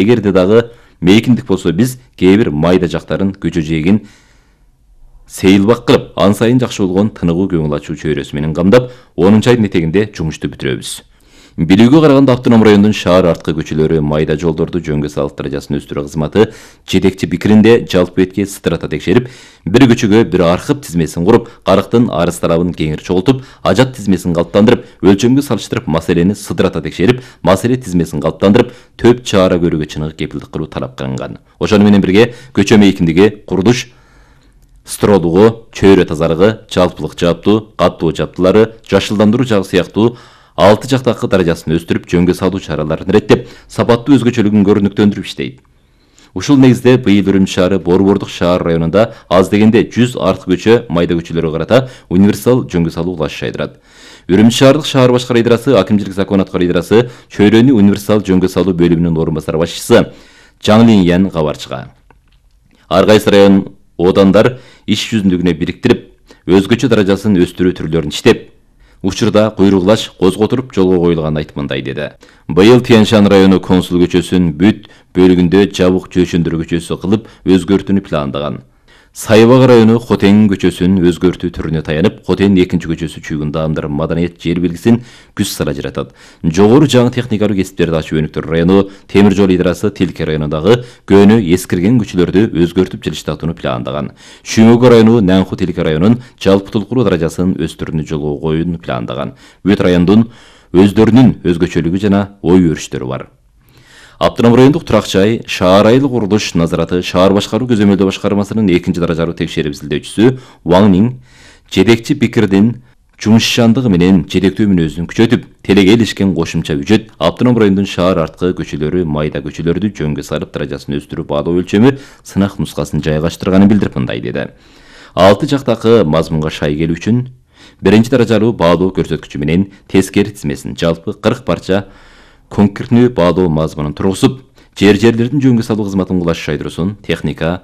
Эгерде дагы мейкиндик болсо биз кээ бир майда жактарын көчө жээгин сейилбак кылып, ан сайын жакшы болгон тыныгуу көңүл ачуу чөйрөсү менен камдап, 10 айдын этегинде жумушту бүтүрөбүз. Билүүгө караганда Автоном районунун шаар арткы көчөлөрү майда жолдорду жөнгө салып даражасын өстүрүү кызматы жетекчи пикиринде жалпы бетке сыдырата текшерип, бир көчөгө бир архып тизмесин куруп, карыктын арыз тарабын кеңири чогултуп, ажат тизмесин калыптандырып, өлчөмгө салыштырып, маселени сыдырата текшерип, маселе тизмесин калыптандырып, төп чара көрүүгө чыныгы кепилдик кылуу талап кылынган. Ошону менен бирге көчө мейкиндиги, курулуш стролугу, чөйрө тазалыгы, жалпылык жааптуу, каттуу жабдылары, жашылдандыруу жагы сыяктуу 6 жактакы даражасын өстүрүп, жөнгө салуу чараларын реттеп, сапаттуу өзгөчөлүгүн көрүнүктөндүрүп иштейт. Ушул негизде быйыл Үрүмчү шаары Борбордук шаар районунда аз дегенде 100 арткы көчө, майда көчөлөргө карата универсал жөнгө салуу улаш жайдырат. Үрүмчү шаардык шаар башкара идарасы, акимчилик закон аткаруу идарасы чөйрөнү универсал жөнгө салуу бөлүмүнүн орун басар башчысы Жаң Линьян кабар чыга. Ар кайсы район одандар иш жүзүндүгүнө бириктирип, өзгөчө даражасын өстүрүү түрлөрүн иштеп, учурда куйругулаш козготуруп жолго коюлганын айтып мындай деди. Быйыл Тянь-Шань району консул көчөсүн бүт бөлүгүндө жабык чөйшөндүрүү көчөсү кылып өзгөртүүнү пландаган. Сайбак району Хотен көчөсүн өзгөртүү түрүнө таянып, Хотен 2 көчөсү чүйгүн даамдар маданият жер белгисин күз сара жаратат. Жогору жаңы техникалык кесиптерди ачуу өнүктүрүү району Темир жол идарасы Тилке районундагы көөнү эскирген көчөлөрдү өзгөртүп жылыштатууну пландаган. Шүймөгө району Нанху Тилке районунун жалпы толкуруу даражасын өстүрүүнү жолго коюуну пландаган. Бүт райондун өздөрүнүн өзгөчөлүгү жана ой өрүштөрү бар. Автоном райондук турак жай, шаар айылык курулуш назараты шаар башкаруу көзөмөлдөө башкармасынын 2-даражалуу текшерип изилдөөчүсү Ван Ning жетекчи пикирдин жумушчандыгы менен жетектөө мүнөзүн күчөтүп, телеге илишкен кошумча үчөт Автоном районунун шаар арткы көчөлөрү, майда көчөлөрдү жөнгө салып даражасын өстүрүү баалоо өлчөмү сынак нускасын жайгаштырганын билдирип мындай деди. 6 жактакы мазмунга шай келүү үчүн 1-даражалуу баалоо көрсөткүчү менен тескери тизмесин жалпы 40 парча конкретнүү баалоо мазмунун тургузуп, жерлердин жөнгө салуу кызматын улаш жайдыруусун техника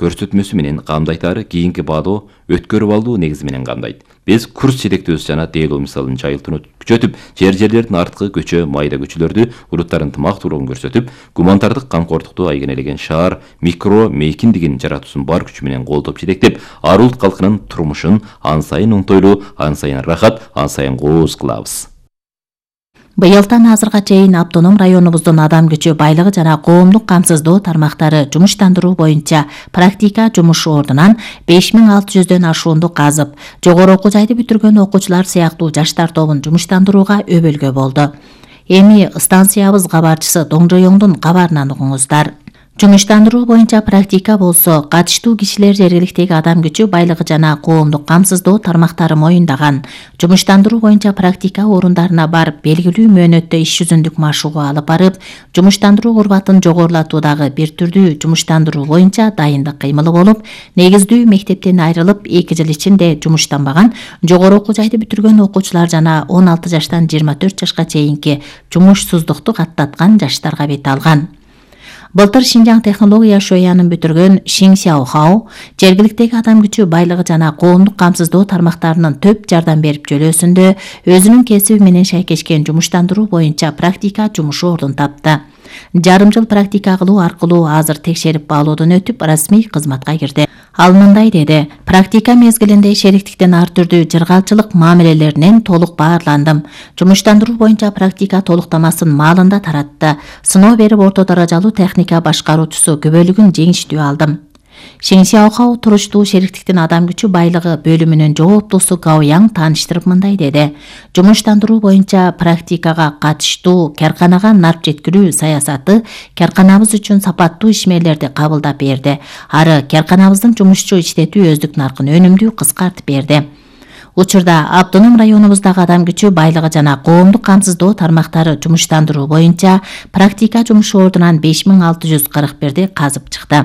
көрсөтмөсү менен камдайтары кийинки баалоо өткөрүп алуу негизи менен камдайт. Биз курс жетектөөсү жана дейлоо мисалын жайылтууну күчөтүп, жерлердин арткы көчө, майда көчөлөрдү уруттарын тымактуулугун көрсөтүп, гуманитардык камкордукту айгинелеген шаар микро мейкиндигин жаратуусун бар күчү менен колдоп жетектеп, ар улут калкынын турмушун ан сайын оңтойлуу, ан сайын рахат, ан сайын кооз кылабыз. Быйылдан азырга чейин Автоном районубуздун адам күчү байлыгы жана коомдук камсыздоо тармактары жумуштандыруу боюнча практика жумуш ордунан 5600дөн ашуунду казып, жогору окуу жайды бүтүргөн окуучулар сыяктуу жаштар тобун жумуштандырууга өбөлгө болду. Эми станциябыз кабарчысы Доңжоёңдун кабарынан угуңуздар. Жумуштандыруу боюнча практика болсо, катыштуу кишилер жергиликтеги адам күчү байлыгы жана коомдук камсыздоо тармактары моюндаган. Жумуштандыруу боюнча практика орундарына барып, белгилүү мөөнөттө иш жүзүндүк машыгуу алып барып, жумуштандыруу урбатын жогорулатуудагы бир түрдүү жумуштандыруу боюнча дайындык кыймылы болуп, негиздүү мектептен айрылып 2 жыл ичинде жумуштанбаган жогору окуу жайды бүтүргөн окуучулар жана 16 жаштан 24 жашка чейинки жумушсуздукту каттаткан жаштарга бет алган. Былтыр Шинжаң технология шоянын бүтүргөн Шиң Сяохао жергиликтеги адам күчү байлыгы жана коомдук камсыздоо тармактарынын төп жардам берип жөлөөсүндө өзүнүн кесиби менен шайкешкен жумуштандыруу боюнча практика жумушу ордун тапты. Жарым жыл практика кылуу аркылуу азыр текшерип баалоодон өтүп, расмий кызматка кирди. Ал мындай деди: практика мезгилинде шериктиктин ар түрдүү жыргалчылык мамилелеринен толук баарландым. Жумуштандыруу боюнча практика толуктамасын маалында таратты. Сыноо берип орто даражалуу техника башкаруучусу күбөлүгүн жеңиштүү алдым. Шиң Сяохао туруштуу шериктиктин адам күчү байлыгы бөлүмүнүн жооптуусу Гао Яң тааныштырып мындай деди: жумуштандыруу боюнча практикага катыштуу карканага нарп жеткирүү саясаты карканабыз үчүн сапаттуу ишмерлерди кабылдап берди. Ары карканабыздын жумушчу иштетүү өздүк наркын өнүмдүү кыскартып берди. Учурда Автоном районубуздагы адам күчү байлыгы жана коомдук камсыздоо тармактары жумуштандыруу боюнча практика жумушу ордунан 5641 казып чыкты.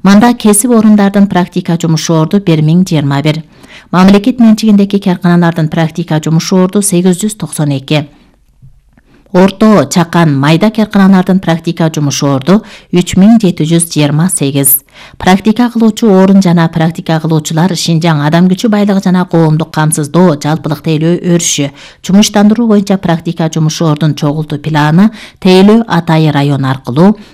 Манда кесип орундардын практика жумушу орду 1021. Мамлекет менчигиндеги карканалардын практика жумушу орду 892. Орто, чакан, майда карканалардын практика жумуш орду 3728. Практика кылуучу орун жана практика кылуучулар Шинжаң адам күчү байлыгы жана коомдук камсыздоо жалпылык тейлөө өрүшү, жумуштандыруу боюнча практика жумуш ордун чогултуу планы тейлөө Атайы району аркылуу